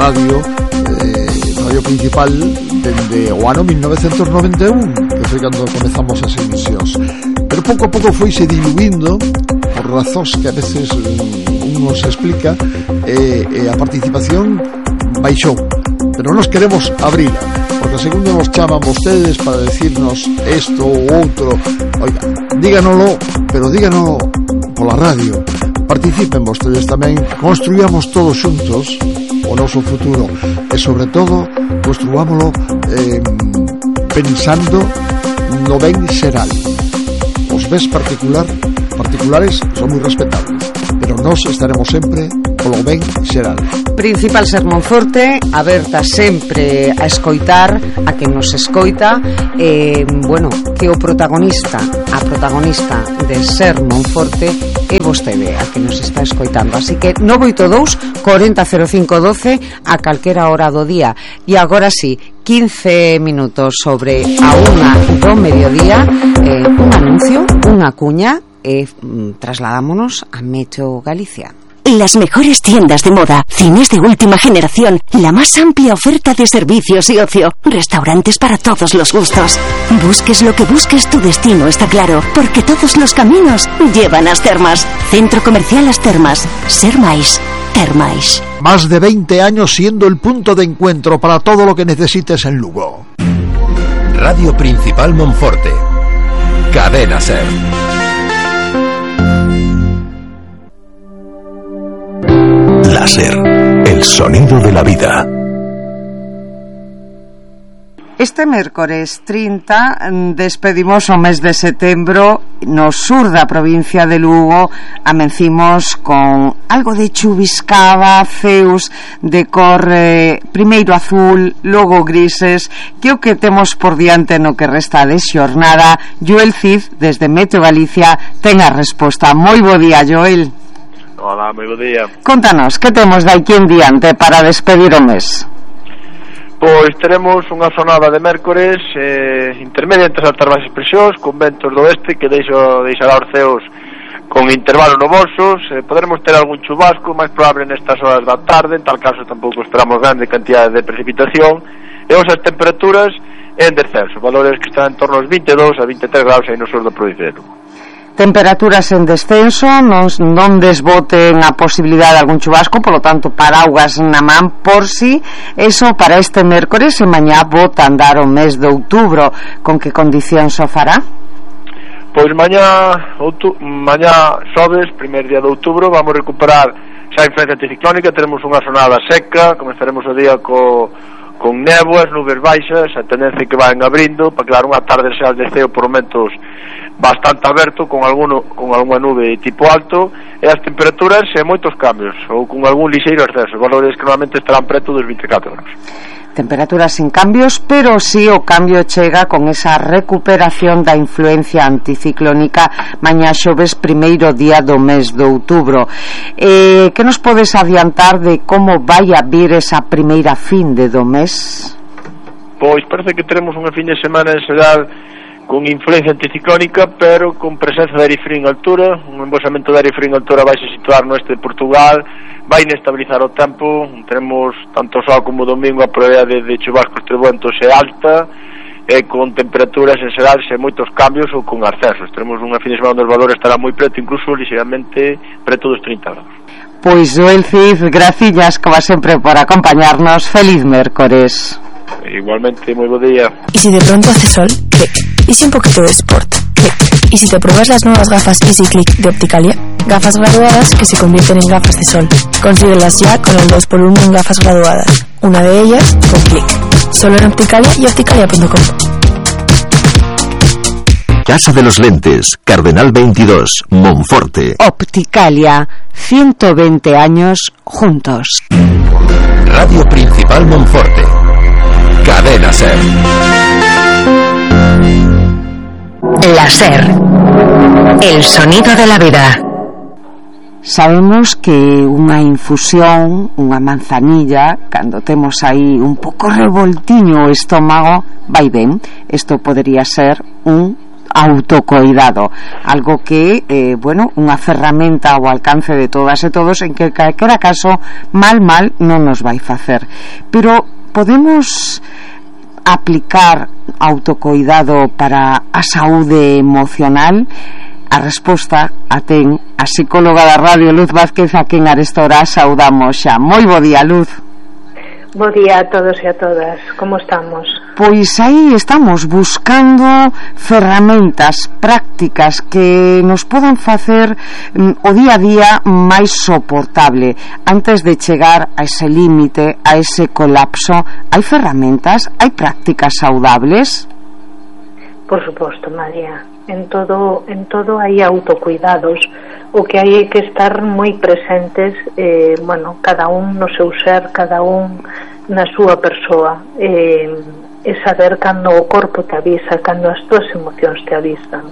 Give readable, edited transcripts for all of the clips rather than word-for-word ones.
radio principal dende o ano 1991, que foi cando comezamos as emisións, pero pouco a pouco foise diluindo por razóns que a veces nos explica, e a participación baixou, pero nos queremos abrir, porque segundo nos chaman vostedes para decirnos isto ou outro, oiga, díganoslo, pero díganoslo pola radio. Participen vostedes tamén, construíamos todos xuntos o noso futuro, e sobre todo construámoslo pensando no ben xeral. Os bens particulares son moi respetables, pero nós estaremos sempre polo ben xeral. Principal Ser Monforte, aberta sempre a escoitar a quen nos escoita, bueno, que o protagonista, a protagonista de Ser Monforte é vostede, a que nos está escoitando. Así que 982 40 05 12 a calquera hora do día. E agora sí, 15 minutos sobre a 1 do mediodía, un anuncio, unha cuña, e trasladámonos a Meteo Galicia. Las mejores tiendas de moda, cines de última generación, la más amplia oferta de servicios y ocio, restaurantes para todos los gustos. Busques lo que busques, tu destino está claro, porque todos los caminos llevan a As Termas. Centro Comercial As Termas. Ser máis. Termais. Más de 20 años siendo el punto de encuentro para todo lo que necesites en Lugo. Radio Principal Monforte. Cadena Ser. Láser, el sonido de la vida. Este mércores 30 despedimos o mes de setembro no sur da provincia de Lugo. Amencimos con algo de chuviscada, ceus de cor primeiro azul, logo grises, que o que temos por diante no que resta de xornada. Joel Cid, desde Meteo Galicia, ten a resposta. Moi bo día, Joel. Hola, moi bo día. Contanos, que temos de aquí en diante para despedir o mes? Pois teremos unha xornada de mércores intermedia entre as altas baixas presións, con ventos do oeste que deixará os ceos con intervalos nubosos. Poderemos ter algún chubasco, máis probable nestas horas da tarde, en tal caso tampouco esperamos grande cantidade de precipitación, e as temperaturas en descenso, valores que están en torno aos 22 a 23 graus aí no sur da provincia de Lugo. Temperaturas en descenso, non desboten a posibilidade de algún chubasco, polo tanto paraugas na man por si. Eso para este mércores, e mañá bota andar o mes de outubro. Con que condicións o fará? Pois mañá xoves, primeiro día de outubro, vamos recuperar xa a influencia anticiclónica. Teremos unha xornada seca, comezaremos o día con néboas, nubes baixas, a tendencia que van abrindo para quedar unha tarde xa de ceo por momentos bastante aberto, con algunha nube tipo alto, e as temperaturas e moitos cambios, ou con algún lixeiro ascenso, valores que normalmente estarán preto dos 24 graus. Temperaturas sin cambios, pero sí o cambio chega con esa recuperación da influencia anticiclónica mañá xoves, primeiro día do mes de outubro. Que nos podes adiantar de como vai a vir esa primeira fin de do mes? Pois parece que teremos unha fin de semana en xeral con influencia anticiclónica, pero con presencia de aire frío en altura. Un embolsamento de aire frío en altura vai se situar no este de Portugal, vai inestabilizar o tempo. Teremos tanto sol como domingo a probabilidade de chubascos trebuentos é alta, e con temperaturas en xeral sen moitos cambios ou con ascensos. Teremos unha fin de semana onde os valores estarán moi preto, incluso ligeramente preto dos 30 graus. Pois Joel Cid, gracillas como sempre por acompañarnos. Feliz mércores. Igualmente, muy buen día. ¿Y si de pronto hace sol? Click. ¿Y si un poquito de sport? Click. ¿Y si te pruebas las nuevas gafas Easy Click de Opticalia? Gafas graduadas que se convierten en gafas de sol. Consíguelas ya con el 2x1 en gafas graduadas. Una de ellas con Click. Solo en Opticalia y opticalia.com. Casa de los Lentes, Cardenal 22, Monforte. Opticalia, 120 años juntos. Radio Principal Monforte. Cadena Ser. La Ser. El sonido de la vida. Sabemos que unha infusión, unha manzanilla, cando temos aí un pouco revoltiño o estómago, vai ben. Isto podería ser un autocoidado, algo que unha ferramenta ao alcance de todas e todos, en que calquera caso mal non nos vai facer. Pero podemos aplicar autocoidado para a saúde emocional? A resposta a ten a psicóloga da radio, Luz Vázquez, a quen arestora saudamos xa. Moi bo día, Luz. Bo día a todos e a todas. Como estamos? Pois aí estamos buscando ferramentas prácticas que nos podan facer o día a día máis soportable antes de chegar a ese límite, a ese colapso. Hai ferramentas, hai prácticas saudables? Por suposto, María. En todo hai autocuidados. O que hai é que estar moi presentes, cada un no seu ser, cada un na súa persoa, e saber cando o corpo te avisa, cando as túas emocións te avisan.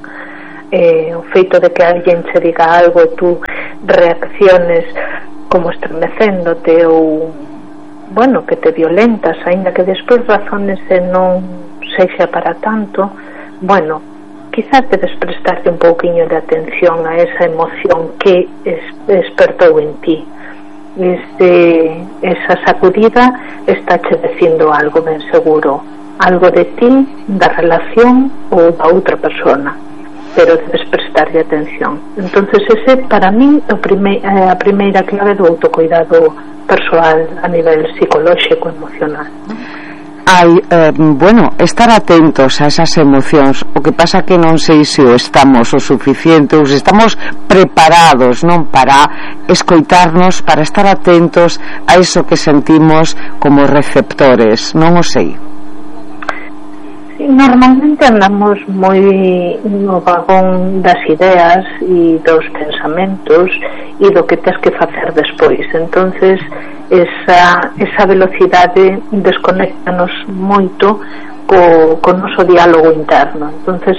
O feito de que alguén che diga algo e tú reacciones como estremecéndote ou que te violentas, aínda que despois razones e non sexa para tanto, quizás debes prestarte un pouquiño de atención a esa emoción que despertou en ti. Esa sacudida está che dicindo algo ben seguro, algo de ti, da relación ou da outra persona, pero debes prestarle atención. Entonces ese para mí a primeira clave do autocuidado persoal a nivel psicolóxico, emocional, ¿no? Hai, estar atentos a esas emocións. O que pasa que non sei se o estamos o suficiente, ou se estamos preparados, non, para escoitarnos, para estar atentos a eso que sentimos como receptores. Non o sei. Normalmente andamos moi no vagón das ideas e dos pensamentos e do que tens que facer despois. Entonces esa velocidade desconéctanos moito co noso diálogo interno. Entonces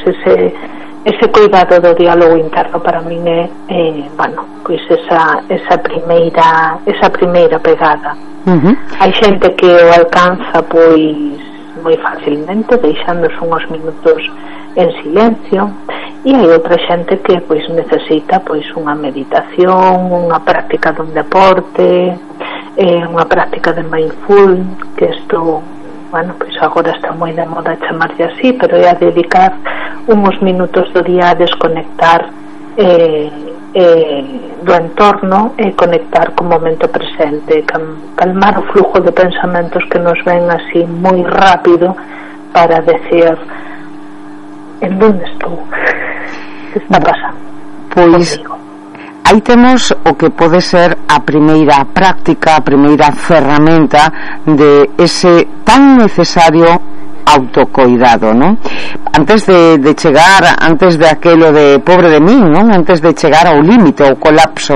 ese cuidado do diálogo interno para min é esa primeira pegada. Hai xente que o alcanza moi facilmente, deixándose unhos minutos en silencio, e hai outra xente que necesita unha meditación, unha práctica dun deporte, unha práctica de mindful, que isto agora está moi de moda chamarlle así, pero é a dedicar unhos minutos do día a desconectar do entorno e conectar co momento presente, calmar o flujo de pensamentos que nos ven así moi rápido para decir en donde estou, que está pasando. Pois aí temos o que pode ser a primeira práctica, a primeira ferramenta de ese tan necesario autocoidado, ¿no? Antes de chegar, antes de aquelo de pobre de min, ¿no? Antes de chegar ao límite, ao colapso,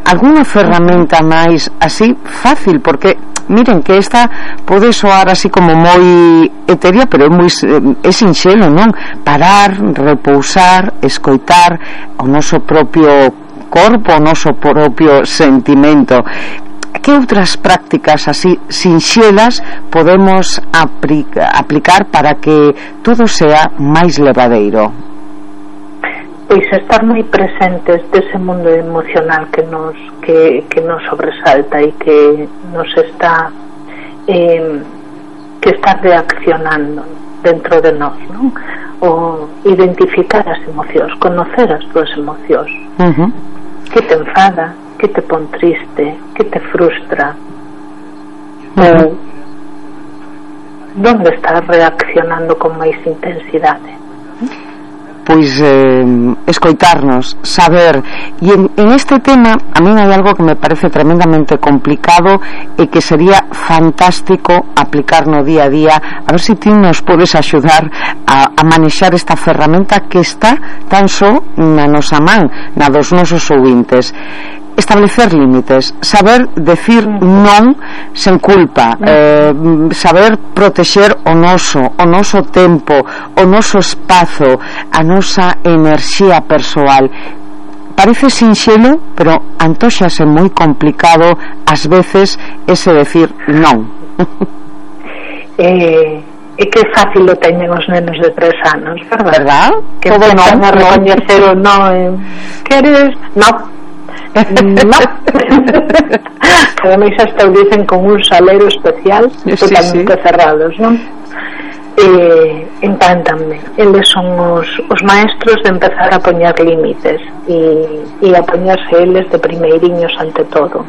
alguna ferramenta máis así fácil, porque miren que esta pode soar así como moi etérea, pero é sinxelo, non? Parar, repousar, escoitar o noso propio corpo, o noso propio sentimento. Que outras prácticas así sinxelas podemos aplicar para que todo sea máis levadeiro? Pois estar moi presentes dese mundo emocional que nos sobresalta e que nos está reaccionando dentro de nós, non? O identificar as emocións, conocer as túas emocións. Que te enfada, que te pon triste, que te frustra, ou donde estás reaccionando con máis intensidade. Pois escoitarnos, saber. E en este tema a min hai algo que me parece tremendamente complicado e que sería fantástico aplicar no día a día. A ver se ti nos podes axudar a manexar esta ferramenta que está tan só na nosa man, na dos nosos ouvintes. Establecer límites, saber decir non sen culpa, saber protexer o noso tempo, o noso espazo, a nosa enerxía persoal. Parece sinxelo, pero antóxase moi complicado ás veces ese decir non. E que fácil o teñen os nenos de 3 anos, verdad? Que todo empezan a recoñecer o no. Queres? No. No. Ademais hasta o dicen con un salero especial, totalmente cerrados, non? Encántanme. Eles son os maestros de empezar a poñer límites e a poñerse eles de primeiriños ante todo.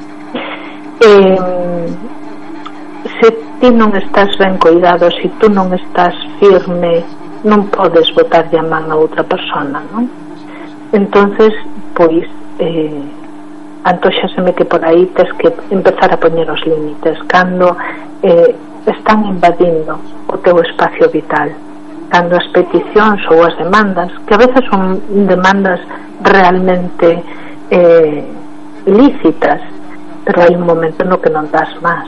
Se ti non estás ben cuidado, se tú non estás firme, non podes botarlle a man a outra persona, non? Entonces, pois antóxaseme que por aí tes que empezar a poñer os límites cando están invadindo o teu espacio vital, cando as peticións ou as demandas, que a veces son demandas realmente lícitas, pero hai un momento no que non das máis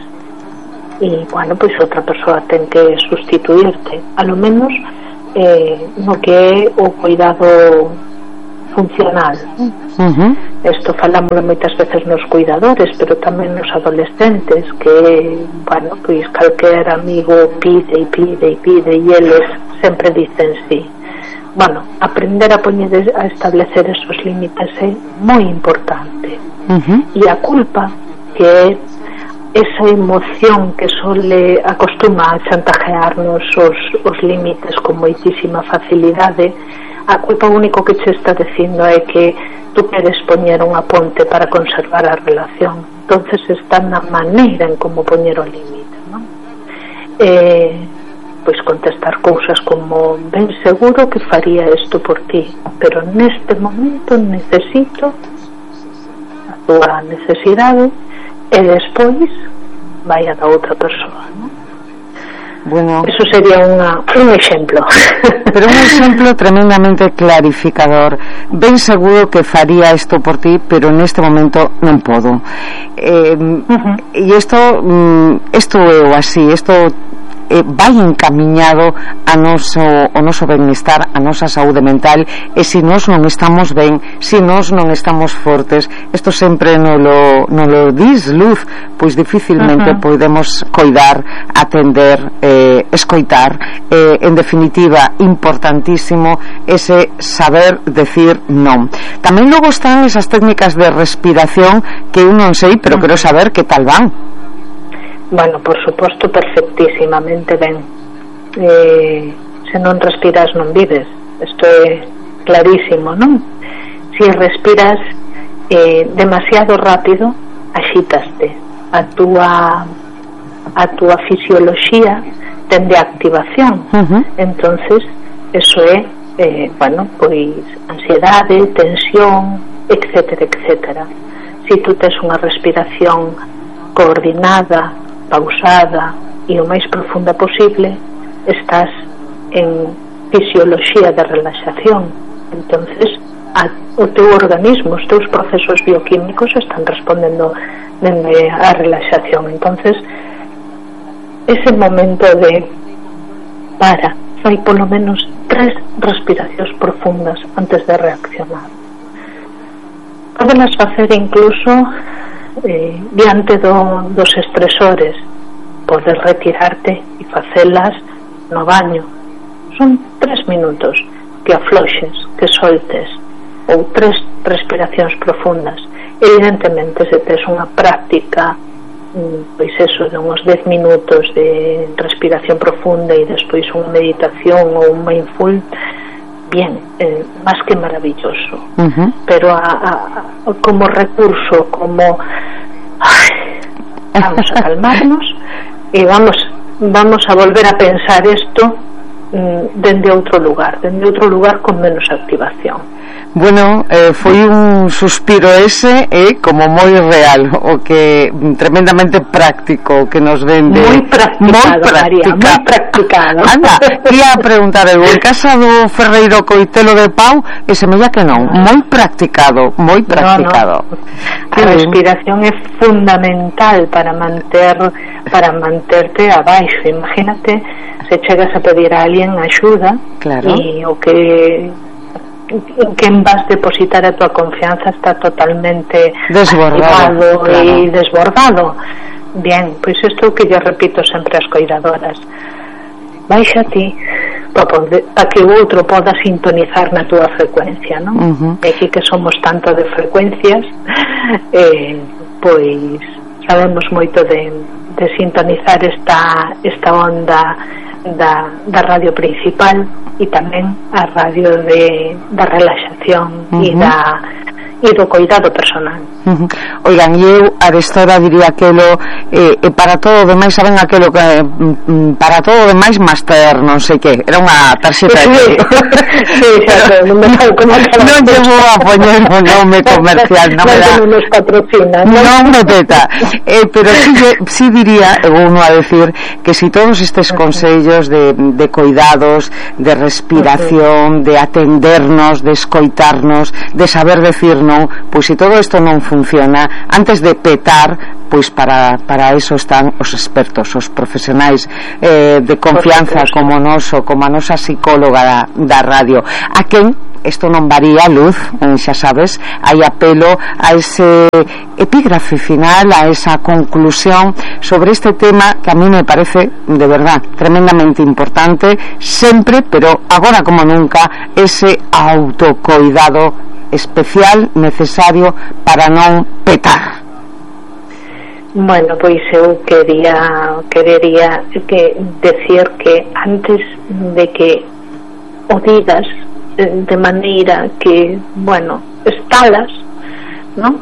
e, bueno, pois outra persoa ten que sustituirte, a lo menos no que é o cuidado funcional. Isto falámoslo moitas veces nos cuidadores, pero tamén nos adolescentes, que, bueno, pois calquer amigo pide e eles sempre dicen sí. Bueno, aprender a establecer esos límites é moi importante. E a culpa, que é esa emoción que acostuma a chantajearnos os límites con moitísima facilidade, a culpa único que che está dicindo é que tú queres poñer unha ponte para conservar a relación, entonces está na maneira en como poñer o límite, non? Pois contestar cousas como: ben seguro que faría isto por ti, pero neste momento necesito a túa necesidade, e despois vai a da outra persoa, non? Bueno, eso sería un exemplo. Pero un exemplo tremendamente clarificador. Ben seguro que faría isto por ti, pero neste momento non podo. E isto é o así, isto vai encamiñado ao noso benestar, a nosa saúde mental, e se nós non estamos ben, se nós non estamos fortes, isto sempre non lo dis luz, pois dificilmente podemos coidar, atender, escoitar, en definitiva importantísimo ese saber decir non. Tamén logo están esas técnicas de respiración que eu non sei, pero quero saber que tal van. Bueno, por suposto, perfectísimamente ben. Se non respiras non vives, isto é clarísimo, non? Se respiras demasiado rápido, axítaste, a túa fisioloxía tende activación. Entonces eso é bueno, pois ansiedade, tensión, etcétera, etcétera. Se tú tes unha respiración coordinada, pausada e o máis profunda posible, estás en fisioloxía de relaxación. Entonces o teu organismo, os teus procesos bioquímicos están respondendo dende a relaxación. Entonces ese momento de fai polo menos 3 respiracións profundas antes de reaccionar. Podelas facer incluso diante dos estresores. Podes retirarte e facelas no baño. Son 3 minutos que afloxes, que soltes, ou 3 respiracións profundas. Evidentemente, se tes unha práctica, pois eso, de uns 10 minutos de respiración profunda e despois unha meditación ou un mindful, bien, máis que maravilloso. Pero como recurso, como vamos a calmarnos e vamos a volver a pensar isto dende outro lugar con menos activación. Bueno, foi un suspiro ese como moi real, o que tremendamente práctico que nos vende. Moi practicado, María, moi practicado. Anda, ia preguntar eu, en casa do Ferreiro Coitelo de Pau, e semella que non, moi practicado. No. A respiración é fundamental para manterte abaixo. Imagínate se chegas a pedir a alguén axuda, claro, e o que en quen vas depositar a tua confianza está totalmente desbordado, e desbordado. Bien, pois isto que yo repito sempre ás coidadoras: baixa ti para que o outro poda sintonizar na túa frecuencia, non? E aquí que somos tanto de frecuencias, pois sabemos moito de sintonizar esta onda da radio principal e tamén a radio da relaxación e do cuidado personal. Oigan, eu arestora diría aquelo para todo o demais, saben aquelo que para todo o demais master non sei que, era unha tarxeta de non me vou a poñer o nome comercial, non nos patrocina, non me peta, pero sí diría, uno a decir que si todos estes consellos de cuidados, de respiración, de atendernos, de escoitarnos, de saber decir non, pois se todo isto non funciona, antes de petar, pois para eso están os expertos, os profesionais de confianza como noso, como a nosa psicóloga da radio, a quen isto non varía, Luz, xa sabes, hai apelo a ese epígrafe final, a esa conclusión sobre este tema que a mí me parece de verdad tremendamente importante sempre, pero agora como nunca, ese autocuidado especial, necesario para non petar. Bueno, pois eu querería decir que antes de que o digas de maneira que, bueno, estalas, non?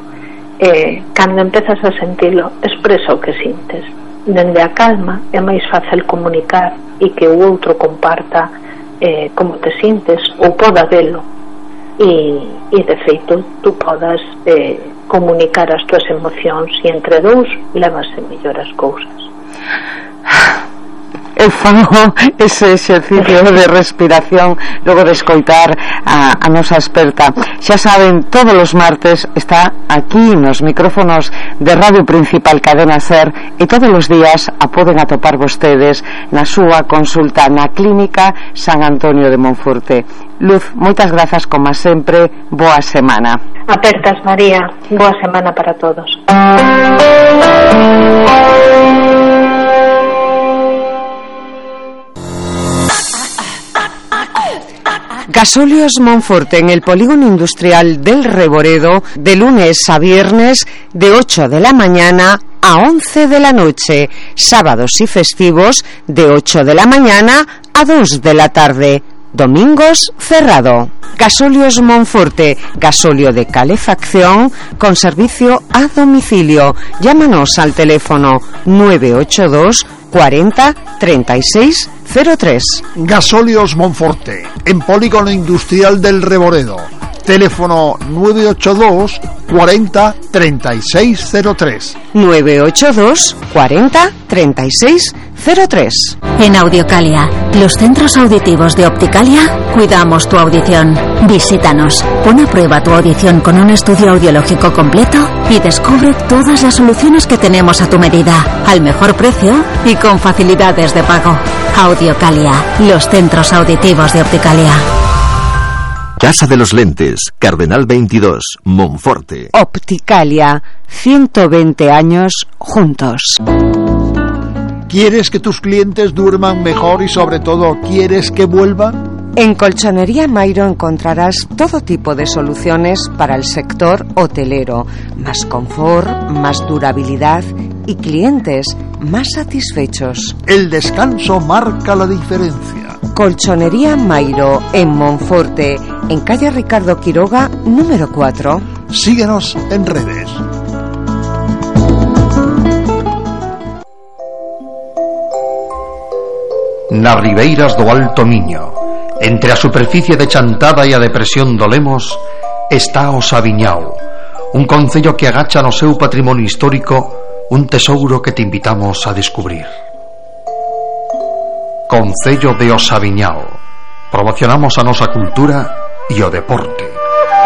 Cando empezas a sentilo, expresa o que sintes. Dende a calma é máis fácil comunicar e que o outro comparta como te sintes ou poda velo. E de feito tú podas comunicar as túas emocións e entre dous levase mellor as cousas. Eu fago ese exercicio de respiración logo de escoitar a nosa experta. Xa saben, todos os martes está aquí nos micrófonos de Radio Principal Cadena Ser e todos os días a poden atopar vostedes na súa consulta na Clínica San Antonio de Monforte. Luz, moitas grazas como sempre, boa semana. Apertas, María, boa semana para todos. Gasóleos Monforte en el Polígono Industrial del Reboredo, de lunes a viernes, de 8 de la mañana a 11 de la noche, sábados y festivos, de 8 de la mañana a 2 de la tarde, domingos cerrado. Gasóleos Monforte, gasóleo de calefacción con servicio a domicilio. Llámanos al teléfono 982 40 36 03. Gasóleos Monforte, en Polígono Industrial del Reboredo. Teléfono 982 40 36 03. 982 40 36 03. En Audiocalia, los centros auditivos de Opticalia, cuidamos tu audición. Visítanos, pon a prueba tu audición con un estudio audiológico completo y descubre todas las soluciones que tenemos a tu medida, al mejor precio y con facilidades de pago. Audiocalia, los centros auditivos de Opticalia. Casa de los Lentes, Cardenal 22, Monforte. Opticalia, 120 años juntos. ¿Quieres que tus clientes duerman mejor y sobre todo quieres que vuelvan? En Colchonería Mairo encontrarás todo tipo de soluciones para el sector hotelero, más confort, más durabilidad y clientes más satisfechos. El descanso marca la diferencia. Colchonería Mairo en Monforte, en calle Ricardo Quiroga, número 4. Síguenos en redes. Nas ribeiras do Alto Miño, entre a superficie de Chantada e a depresión do Lemos, está o Sabiñao, un concello que agacha no seu patrimonio histórico un tesouro que te invitamos a descubrir. Concello de O Sabiñao. Promocionamos a nosa cultura e o deporte.